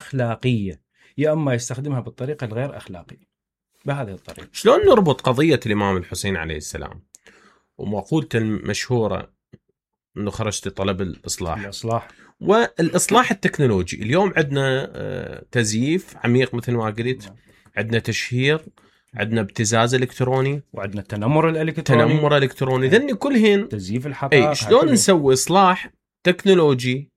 أخلاقية، يا أما يستخدمها بالطريقة الغير أخلاقية. بهذه الطريقة. شلون نربط قضية الإمام الحسين عليه السلام ومقولته المشهورة أنه خرجت طلب الإصلاح والإصلاح التكنولوجي؟ اليوم عندنا تزييف عميق مثل ما قلت، عندنا تشهير، عندنا ابتزاز إلكتروني، وعندنا تنمر إلكتروني ذني كلهن تزييف الحقائق. شلون نسوي إصلاح تكنولوجي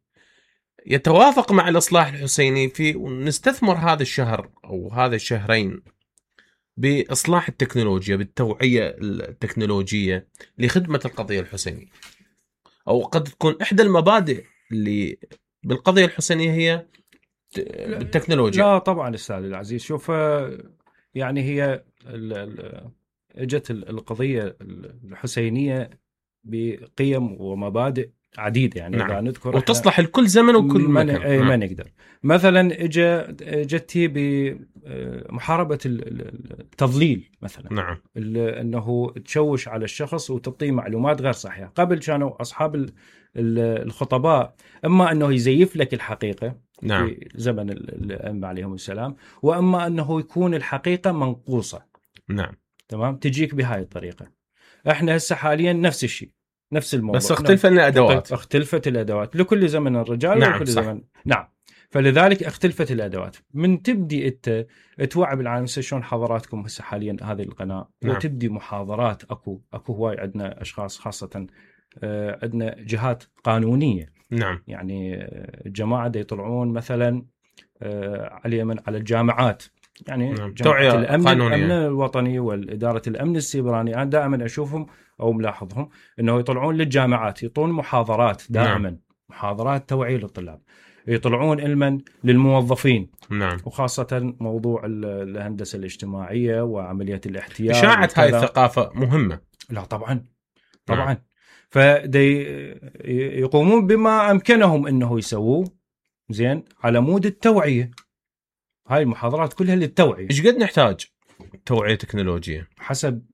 يتوافق مع الإصلاح الحسيني في ونستثمر هذا الشهر أو هذا الشهرين بإصلاح التكنولوجيا، بالتوعية التكنولوجية لخدمة القضية الحسينية؟ أو قد تكون إحدى المبادئ اللي بالقضية الحسينية هي بالتكنولوجيا. لا طبعا أستاذ العزيز، شوف يعني هي اجت القضية الحسينية بقيم ومبادئ عديدة يعني. نعم. إذا نذكر وتصلح لكل زمن وكل مكان. ما نقدر مثلا جتي بمحاربة التضليل مثلا. نعم. أنه تشوش على الشخص وتعطيه معلومات غير صحيحة. قبل كانوا أصحاب الخطباء إما أنه يزيف لك الحقيقة. نعم. في زمن الأئمة عليهم السلام، وأما أنه يكون الحقيقة منقوصة. نعم. تمام. تجيك بهاي الطريقة. احنا هسه حاليا نفس الشيء، نفس الموضوع، بس اختلفت الأدوات. اختلفت الأدوات لكل زمن الرجال. نعم. ولكل صح. زمن. نعم. فلذلك اختلفت الأدوات. من تبدي انت توعي بالعالم شلون حضراتكم هسه حاليا هذه القناة. نعم. وتبدي محاضرات. اكو هواي عندنا اشخاص خاصة عندنا جهات قانونية. نعم. يعني الجماعة دي يطلعون مثلا على الجامعات، يعني نعم. جماعة الأمن الوطني والإدارة الأمن السيبراني. أنا دائما أشوفهم أو ملاحظهم أنه يطلعون للجامعات، يطلعون محاضرات دائما. نعم. محاضرات توعية للطلاب. يطلعون علما للموظفين. نعم. وخاصة موضوع الهندسة الاجتماعية وعملية الاحتيال. إشاعة هاي الثقافة مهمة. لا طبعا. طبعا. فدي يقومون بما أمكنهم أنه يسووه زين على مود التوعية. هاي المحاضرات كلها للتوعية. إيش قد نحتاج توعية تكنولوجية؟ حسب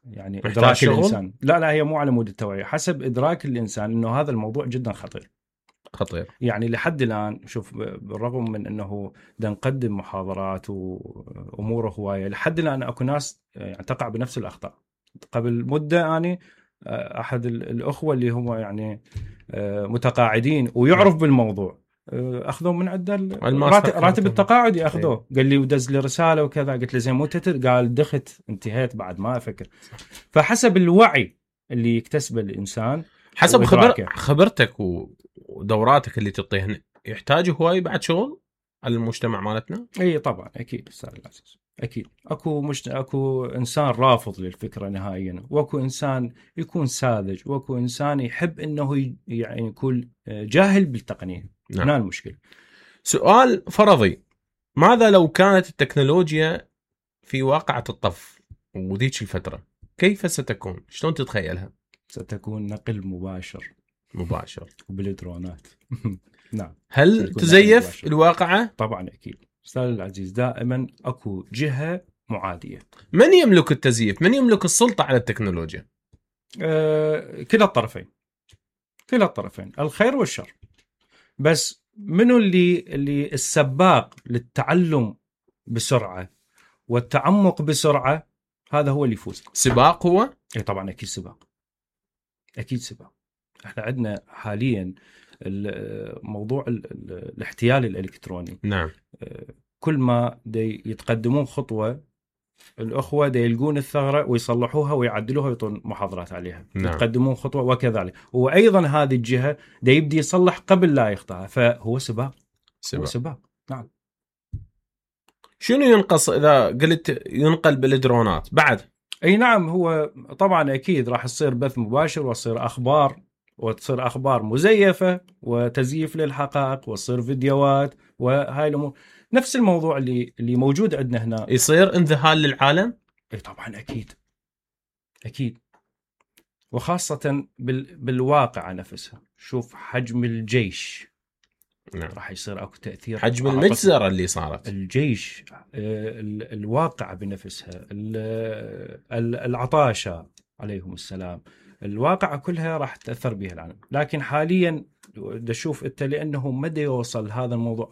يعني إدراك الإنسان. لا هي مو على مود التوعية، حسب إدراك الإنسان أنه هذا الموضوع جدا خطير. يعني لحد الآن شوف، بالرغم من أنه نقدم محاضرات وأموره هواية، لحد الآن أكو ناس يعني تقع بنفس الأخطاء. قبل مدة يعني أحد الأخوة اللي هم يعني متقاعدين ويعرف بالموضوع، أخذوا من عنده راتب التقاعد يأخذوه. قال لي ودز لي رسالة وكذا. قلت له زين مو قال دخت انتهيت بعد ما أفكر. فحسب الوعي اللي يكتسبه الإنسان، حسب خبرتك ودوراتك اللي تعطيهن، يحتاج هواي بعد شغل على المجتمع مالتنا. اي طبعا اكيد استاذ العزيز، اكيد اكو انسان رافض للفكره نهائيا، واكو انسان يكون ساذج، واكو انسان يحب انه يعني يكون جاهل بالتقنيه. نعم. هنا المشكله. سؤال فرضي: ماذا لو كانت التكنولوجيا في واقعة الطف وذيك الفترة، كيف ستكون؟ شلون تتخيلها؟ ستكون نقل مباشر وبالدرونات. نعم. هل تزيف الواقعة؟ طبعا أكيد أستاذ العزيز، دائما أكو جهة معادية. من يملك التزييف؟ من يملك السلطة على التكنولوجيا؟ كلا الطرفين، الخير والشر. بس منو اللي السباق للتعلم بسرعة والتعمق بسرعة، هذا هو اللي يفوز. سباق هو؟ إيه طبعا أكيد سباق. احنا عندنا حاليا موضوع الاحتيال الإلكتروني. نعم. كل ما يتقدمون خطوة، الأخوة يلقون الثغرة ويصلحوها ويعدلوها ويعطون محاضرات عليها. نعم. يتقدمون خطوة وكذلك. وأيضا هذه الجهة يبدي يصلح قبل لا يخطأها. فهو سباق. نعم. شنو ينقص إذا قلت ينقل بالدرونات بعد؟ أي نعم، هو طبعا أكيد راح يصير بث مباشر وتصير أخبار مزيفة وتزييف للحقائق، وتصير فيديوهات وهاي الأمور. نفس الموضوع اللي موجود عندنا هنا. يصير انذهال للعالم؟ أي طبعا أكيد. وخاصة بالواقع نفسها. شوف حجم الجيش. نعم. راح يصير أكو تأثير. حجم المجزرة اللي صارت. الجيش، الواقع بنفسها، العطاشة عليهم السلام، الواقعة كلها راح تأثر بها العالم. لكن حاليا تشوف انت لانه مدى يوصل هذا الموضوع